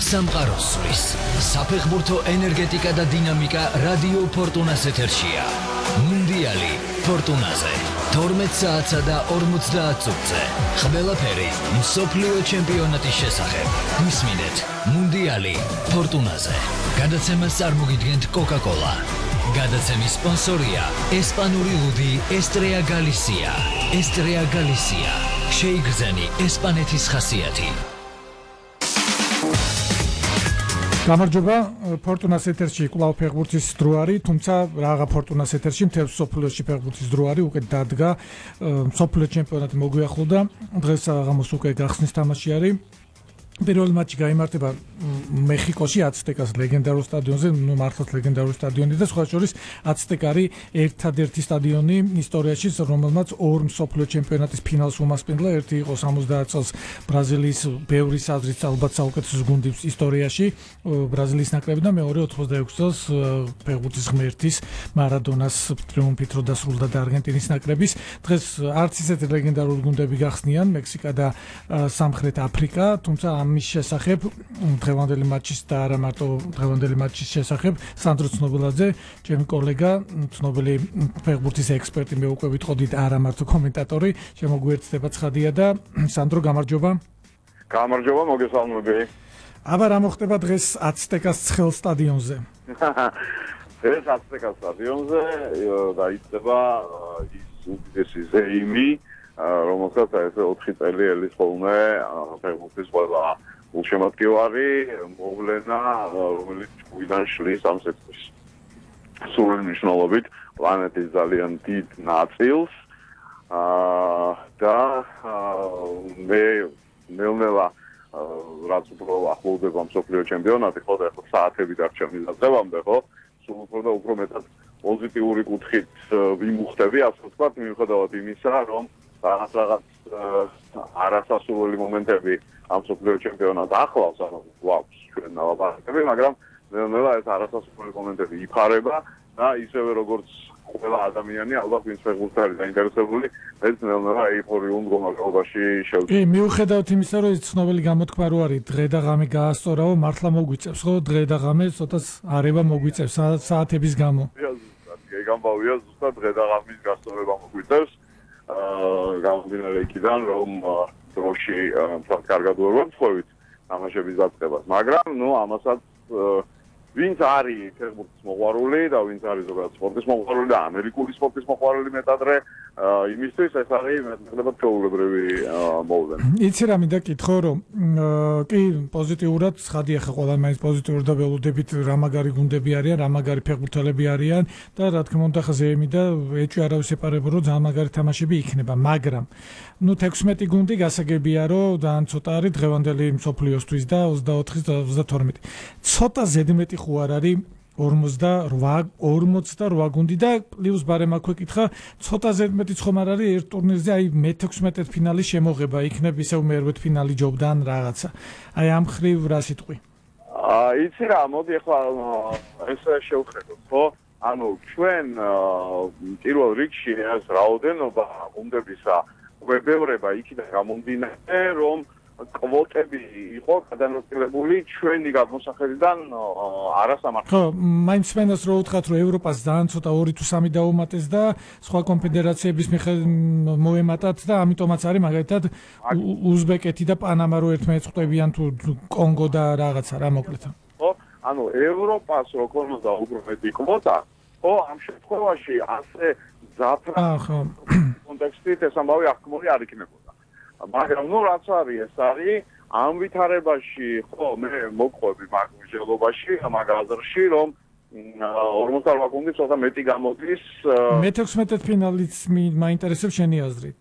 სამყაროს სვლის. საფეხბურთო ენერგეტიკა და დინამიკა რადიო ფორტუნას ეთერშია. მუნდიალი ფორტუნაზე 12 საათსა და 50 წუთზე. ყველაფერი მსოფლიო ჩემპიონატის შესახებ. მისმინეთ მუნდიალი ფორტუნაზე. გადაცემას წარმოგიდგენთ Coca-Cola. გადაცემის სპონსორია ესპანური ლუდი ესტრეა გალისია. ესტრეა გალისია. შეიგრძენი ესპანეთის ხასიათი. გამარჯობა, ფორტუნას ეთერში კვლავ ფეხბურთის დრო არის, თუმცა რაღა ფორტუნას ეთერში მთელ მსოფლიოში ფეხბურთის დრო არის, უკვე დადგა მსოფლიო ჩემპიონატი მოგვიახლოვდა, დღეს საღამოს უკვე გახსნის თამაში არის. პირველი მატჩი გაიმართება მეხიკოში აცტეკას ლეგენდარულ სტადიონზე, მართლაც ლეგენდარული სტადიონი და სხვა შორის აცტეკა არის ერთადერთი სტადიონი ისტორიაში, რომელმაც ორ მსოფლიო ჩემპიონატის ფინალს უმასპინძლა. ერთი იყო 70 წელს ბრაზილიის ბევრი აზრით ალბათ საუკეთესო გუნდის ისტორიაში, ბრაზილიის ნაკრები და მეორე 86 წელს ფეხბურთის ღმერთის მარადონას ტრიუმფით რო დასრულდა და არგენტინის ნაკრების. დღეს არც ისეთი ლეგენდარული გუნდები გახსნიან, მექსიკა და სამხრეთ აფრიკა, თუმცა ამის შესახებ დღევანდელი მატჩის და არა მარტო დღევანდელი მატჩის შესახებ სანდრო ცნობილაძე, ჩემი კოლეგა, ცნობილი ფეხბურთის ექსპერტი, მე უკვე ვიტყოდით არა მარტო კომენტატორი, შემოგვიერთდება ცხადია და სანდრო გამარჯობა. გამარჯობა, მოგესალმები. აბა რა მოხდება დღეს აცტეკას ცხელ სტადიონზე? დღეს აცტეკას სტადიონზე დაიწყება ის უდიდესი ზეიმი, რომელსაც ესე 4 წელი ელის ხოლმე ფეხბურთის ყველა გულშემატკივარი მოვლენა, რომელიც ჭუიდან შლის ამ სექტორს. სრული მნიშვნელობით პლანეტის ძალიან დიდ ნაწილს და მე ნელ-ნელა რაც უფრო ახლოვდება მსოფლიო ჩემპიონატი, ხო და ახლა საათები დარჩა მიზაძებამდე, ხო? სულ უფრო და უფრო მეტად პოზიტიური კუთხით ვიმუხტები, ასე ვთქვათ, მიუხედავად იმისა, რომ რაღაც არასასურველი მომენტები ამ მსოფლიო ჩემპიონატს ახლავს, ანუ გვაქვს ჩვენ ნალაპარაკები, მაგრამ ნელ-ნელა ეს არასასურველი მომენტები იფარება და ისევე როგორც ყველა ადამიანი, ალბათ ვინც ფეხბურთით არის დაინტერესებული, ეს ნელ-ნელა ეიფორიულ მდგომარეობაში შევიდა. კი, მიუხედავად იმისა, რომ ეს ცნობილი გამოთქმა რო არის, დღე და ღამე გაასწორაო, მართლა მოგვიწევს, ხო? დღე და ღამე ცოტას არევა მოგვიწევს საათების გამო. ეგ ამბავია, ზუსტად დღე და ღამის გასწორება მოგვიწევს. გამომდინარე იქიდან, რომ დროში მთლად კარგად ვერ ვამსხვევით თამაშების დაწყებას, მაგრამ ამასაც ვინც არის ფეხბურთის მოყვარული და ვინც არის ზოგადად სპორტის მოყვარული და ამერიკული სპორტის მოყვარული მეტადრე, იმისთვის ეს არის მეტნაკლებად ჩვეულებრივი მოვლენა. იცი რა მინდა კითხო, რომ კი პოზიტიურად ცხადია ხა ყველა მაინც პოზიტიურად და ველოდებით რა მაგარი გუნდები არიან, რა მაგარი ფეხბურთელები არიან და რა თქმა უნდა ხა ზეიმი და ეჭვი არავის ეპარებო, რომ ძალიან მაგარი თამაშები იქნება, მაგრამ 16 გუნდი გასაგებია, რომ ძალიან ცოტა არის დღევანდელი მსოფლიოსთვის და 24-ის და 32. ცოტა ზედმეტი ხო არ არის 48 გუნდი და პლუს ბარემ აქვე კითხა, ცოტა ზედმეტი ხომ არ არის ერთ ტურნირზე, აი მე-16 ფინალის შემოღება იქნებ ისევ მე-8 ფინალი ჯობდან რაღაცა. აი ამ ხრივ რა სიტყვი? იცი რა, მოდი ახლა ეს შევხედოთ, ხო? ანუ ჩვენ პირველ რიგში ეს რაოდენობა გუნდებისა გვებევრება იქიდან გამომდინარე, რომ კვოტები იყო გადანაწილებული ჩვენი გადმოსახედიდან არასამართლად. ხო, მაინც მენას რო უთხრათ, რომ ევროპას ძალიან ცოტა 2 თუ 3 დაუმატეს და სხვა კონფედერაციების მოემატათ და ამიტომაც არის მაგალითად უზბეკეთი და პანამა რო ერთმანეთს ხვდებიან თუ კონგო და რაღაცა რა მოკლედ. ხო, ანუ ევროპას რო ქონოდა უფრო მეტი კვოტა, ხო, ამ შემთხვევაში ასე ზაფრანგ კონტექსტით ეს ამბავი აღქმული არ იქნებოდა. მაგრამ რაც არის, ეს არის ამ ვითარებაში, ხო, მე მოგყვები მაგ მსჯელობაში, მაგ აზრში, რომ 48 გუნდი ცოტა მეტი გამოდის. მე-16 ფინალიც მაინტერესებს შენი აზრით.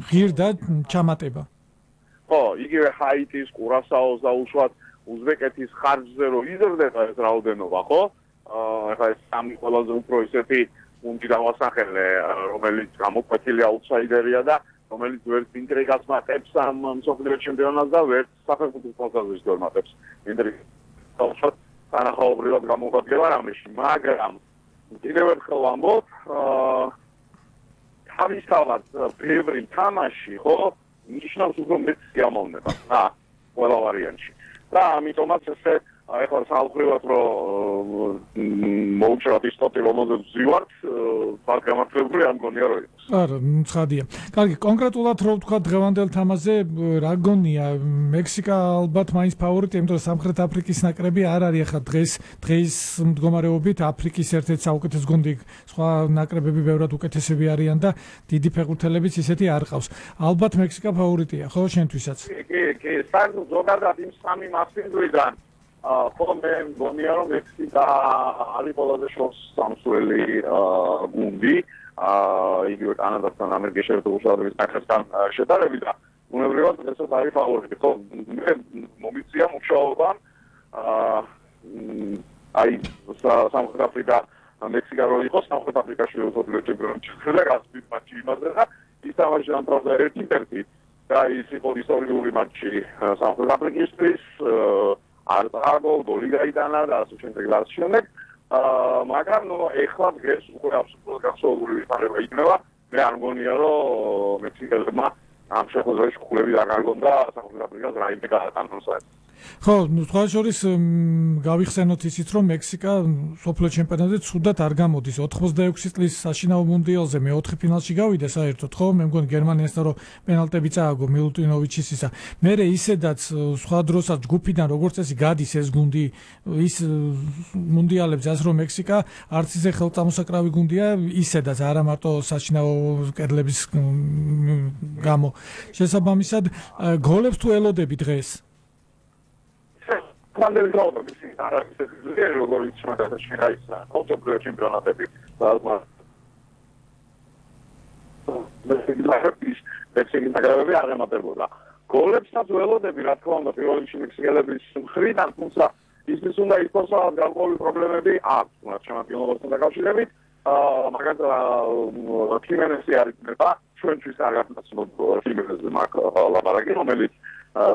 ღირდა ჩამატება. ხო, იგივე ჰაიტის, კურასაოს და უშუალოდ უზბეკეთის ხარჯზე რო იზრდება ეს რაოდენობა, ხო? ახლა ეს სამი ყველაზე უფრო ისეთი გუნდი დავასახელე, რომელიც გამოკვეთილი აუტსაიდერია და რომელიც ვერც ინტრიგას მატებს ამ მსოფლიო ჩემპიონატს და ვერც საფეხბურთო თვალსაზრისით ვერ მატებს ინტრიგას. თანახმადობრივად გამოგვადგება რამეში, მაგრამ კიდევ ერთხელ ვამბობ, თავისთავად ბევრი თამაში, ხო, ნიშნავს უფრო მეტ სიამოვნებას, ყველა ვარიანტში. და ამიტომაც ესე ეხლა საალხრივად რომ მოუჩვენოთ ის ტოტი რომელზეც ვზივართ თვალ გამართლებული არ მგონია რომ იყოს. არა, ცხადია. კარგი, კონკრეტულად რო ვთქვა დღევანდელ თამაშზე რა გონია მექსიკა ალბათ მაინც ფავორიტი, იმიტომ რომ სამხრეთ აფრიკის ნაკრები არ არის ახლა დღეს მდგომარეობით აფრიკის ერთ-ერთი საუკეთესო გუნდი, სხვა ნაკრებები ბევრად უკეთესები არიან და დიდი ფეხბურთელებიც ისეთი არ ყავს. ალბათ მექსიკა ფავორიტია, ხო შენთვისაც? კი, საერთოდ ზოგადად იმ სამი მასპინძვრიდან ხოლმე მგონია რომ მექსიკა არის ყველაზე შორს სამსვლელი გუნდი იგივე კანადასთან ამერიკის შეერთებული შტატების ნაკრებთან შედარებით და უნებრივად ესეც არის ფავორიტი. ხო, მე მომიწია მუშაობა აი სამხრეთ აფრიკა მექსიკა რო იყოს სამხრეთ აფრიკაში ოფიციალური ჩემპიონატი და გასწრით მატჩი იმაზე და ის თამაში ამთავრდა 1-1 და ის იყო ისტორიული მატჩი სამხრეთ აფრიკისთვის არ წააგო გოლი გაიტანა და ასე შემდეგ და ასე შემდეგ მაგრამ ეხლა დღეს უკვე აბსოლუტურად გასაუბრებელი ვითარება იქნება მე არ მგონია რომ მექსიკელებმა ამ შეხვედრაში ხულები არ გარგონ და სამხრეთ აფრიკას რაიმე გაატანოს ხო, სხვა შორის გავიხსენოთ ისიც, რომ მექსიკა სოფლიო ჩემპიონატზე ცუდად არ გამოდის. 86 წლის საშინაო მუნდიალზე მე-4 ფინალში გავიდა საერთოდ, ხო? მე მგონი გერმანიასთან რომ პენალტები წააგო მილუტინოვიჩის ისა. მერე ისედაც სხვა დროსაც ჯგუფიდან როგორც წესი გადის ეს გუნდი ის მუნდიალებზე, ასე რომ მექსიკა არც ისე ხელწამოსაკრავი გუნდია, ისედაც არა მარტო საშინაო კედლების გამო. შესაბამისად, გოლებს თუ ელოდები დღეს Quando trovo che si sarà zero gol in da China, molto più campionatები მექსიკის არ ემატებოდა. გოლებსაც ველოდები, რა თქმა უნდა, პირველ რიგში მექსიკელების მხრიდან, თუმცა ისიც უნდა იყოს, რომ გარკვეული პრობლემები აქვს ჩემპიონატთან დაკავშირებით. მაგალითად, ქიმენესი არის ნება, ჩვენთვის არ გასაცნობ ქიმენეზზე მაგ ლაბარაკი, რომელიც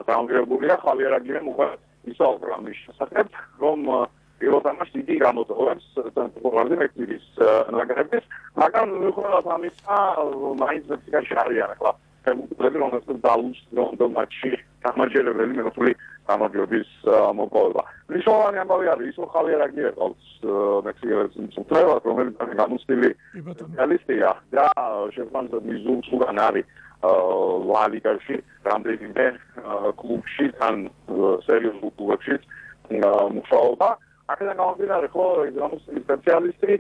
დაანგრიებულია ხავიერ აგირემ უკვე ისაუბრა ამის შესახებ, რომ პირველ თამაშს იგი გამოწვევს ცენტრალურ მექსიკის ნაკრების, მაგრამ მიუხედავად ამისა, მაინც მექსიკაში არიან ახლა ფეხბურთელები, რომელსაც დაუშვეს მატჩი გამარჯვებული მეხუთე გამარჯვების მოპოვება. მნიშვნელოვანი ამბავი არის ის, რომ ხავიერ აგირე ყავს მექსიკელებს მწვრთნელად, რომელიც გამოცდილი სპეციალისტია და შეფანზე მიზულსგან არის ლა ლიგაში რამდენიმე კლუბში თან სერიოზულ კლუბებში მუშაობა. აქედან გამომდინარე, ხო, გამოცდილი სპეციალისტი,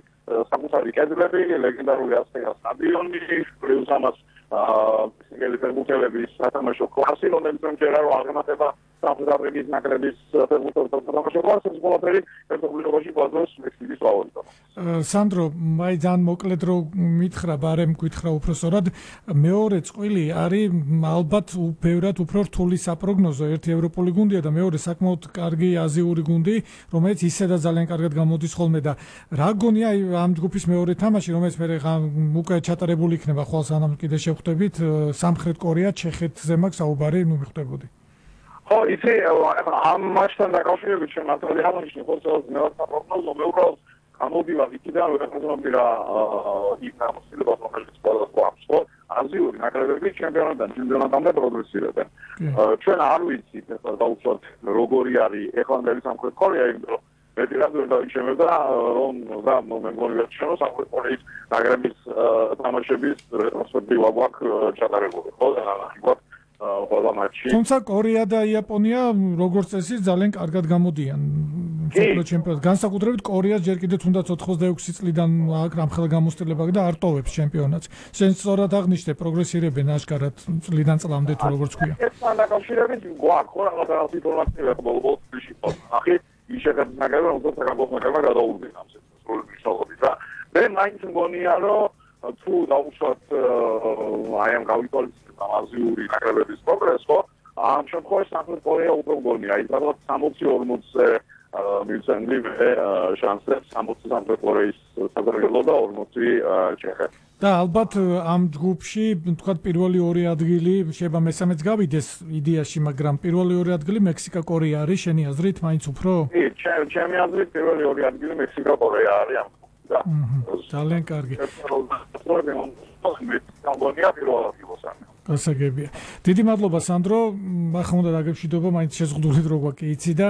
საკუთარი კედლები, ლეგენდარული ასტეკა სტადიონი, პლუს ამას მექსიკელი ფეხბურთელების სათამაშო კლასი, რომელიც ჯერ არ აღემატება სამხრეთ აფრიკის ნაკრების ფეხბურთელთა სათამაშო კლასს, ეს ყველაფერი ერთობლივობაში გვაძლევს მექსიკის ფავორიტობას. სანდრო, მაინც ძალიან მოკლედ რო მითხრა, ბარემ გითხრა უпроსორად, მეორე წყვილი არის ალბათ ბევრად უფრო რთული საპროგნოზო, ერთი ევროპული გუნდია და მეორე საკმაოდ კარგი აზიური გუნდი, რომელიც ისედაც ძალიან კარგად გამოდის ხოლმე და რა გონია ამ ჯგუფის მეორე თამაში, რომელიც მე უკვე ჩატარებული იქნება ხვალ სანამ კიდე შევხვდებით, სამხრეთ კორეა, ჩეხეთზე მაქვს საუბარი, ნუ მიხვდებოდი. ხო, იცი, ამ მატჩთან დაკავშირებით შემართული ამაში ხოლმე მეორე საპროგნოზო მე უბრალოდ გამოვიდა იქიდან რომ ეხმაურებდა იქ გამოსილებას რომელიც ყველას გვაქვს, ხო? აზიური ნაკრებები ჩემპიონატამდე პროგრესირებენ. ჩვენ არ ვიცით ახლა დაუშვათ როგორი არის ეხლანდელი სამხრეთ კორეა, იმიტომ რომ მეტი რადიო დაიჩემდა რომ და მე მგონი რომ სამხრეთ კორეის ნაკრების თამაშების რეტროსპექტივა გვაქვს ჩატარებული, ხო? და ნახოთ ყველა მატჩი. თუმცა კორეა და იაპონია როგორც წესი ძალიან კარგად გამოდიან სოფლიო ჩემპიონატს. განსაკუთრებით კორეას ჯერ კიდევ თუნდაც 86 წლიდან ამ ხელგამოსტილება და არ ტოვებს ჩემპიონატს. შენ სწორად აღნიშნე პროგრესირებენ აშკარად წლიდან წლამდე თუ როგორც ქვია. ესთან დაკავშირებით გვაქვს ხო რაღაცა ინფორმაცია ბოლოს-ბოლოში ახი ისედაც ნაგები რომ თქო საკამპონენტებმა გადაუვიდნენ ამ სრული და მე მაინც მგონია რომ თუ დაუშვათ აი ამ გავიკვალიფიცირდა აზიური ნაკრებების პროგრესო ამ შემთხვევაში სამხრეთ კორეა უფრო მგონია ის რაღაც 60-40-ზე მიცემდი შანსებს 60 სამხრეთ კორეის საზოგადო და 40 ჩეხეთ და ალბათ ამ ჯგუფში თქვათ პირველი ორი ადგილი შეიძლება მესამეც გავიდეს იდეაში, მაგრამ პირველი ორი ადგილი მექსიკა კორეა არის შენი აზრით მაინც უფრო? კი, ჩემი აზრით პირველი ორი ადგილი მექსიკა კორეა არის ამ ძალიან კარგი. გასაგებია. დიდი მადლობა სანდრო, ახლა უნდა დაგემშვიდობა, მაინც შეზღუდული დრო გვაქვს იცი და